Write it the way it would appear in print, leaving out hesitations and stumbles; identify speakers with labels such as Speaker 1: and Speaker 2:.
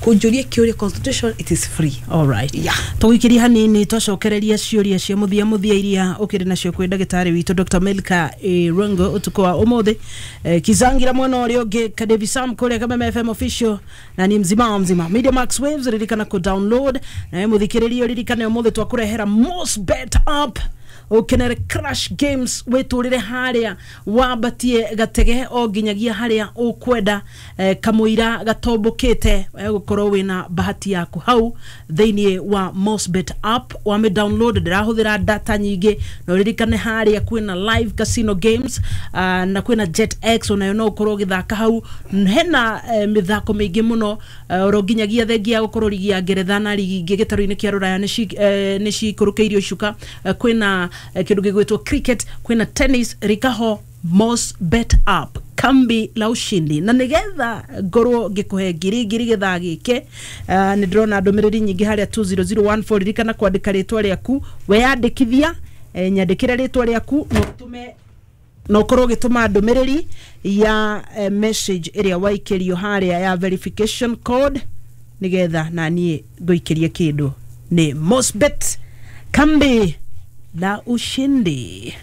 Speaker 1: Kũnjũria kĩũria, consultation, it is free.
Speaker 2: Alright.
Speaker 1: Yeah.
Speaker 2: Tũgũikĩria hanini, twacokereria ciũria cia mũthia mũthia iria ũkĩrĩ nacio kwĩ ndagĩtarĩ witũ Dr. Milka Irungu ũtukũ wa ũmũthĩ. Kizangira mwena ũrĩa ũngĩ, Kadevi Sam kũrĩa Kameme FM official, na ni mzima wa mzima Media Max Waves. Ririkana kũ download, nawe mũthikĩrĩria ririkane ũmũthĩ twakũrehera Mosbet app, ukenere crash games, witũrĩre harĩa wambatie gatege o nginyagia harĩa ũkwenda, kamũira gatombũkĩte. Gũkorwo wĩna bahati yaku hau thĩinĩ wa Mosbet app. Wame download, ndĩrahũthĩra data nyingĩ, na ũririkane harĩa kwĩna live casino games, na kwĩna Jet X, onayo no ũkorwo ũgĩthaka hau. Hena mĩthako mĩingĩ mũno, oro nginyagia thengia ya gũkorwo ligi ya Ngeretha na ligi ingĩ gĩtarũ-inĩ kĩa Rũraya nĩ cikũrũkĩirio icuka. Kwĩna kĩndũ gĩgwĩtwo cricket, kwĩna tennis. Rikaho Mosbet app, kambi la ushindi. Na nigetha ngorwo ngĩkũhe ngiri ngiri gĩthaa gĩkĩ, nĩ ndĩrona ndũmĩrĩri nyingĩ harĩa 20014. Ririkana kwandĩka rĩtwa rĩaku weyandĩkithia, nyandĩkĩre rĩtwa rĩaku na ũtũme na ũkorwo ũgĩtũma ndũmĩrĩri ya message ĩrĩa waikĩrio harĩa ya verification code, nĩgetha na niĩ ngũikĩrie kĩndũ. Nĩ Mosbet, kambi la ushindi.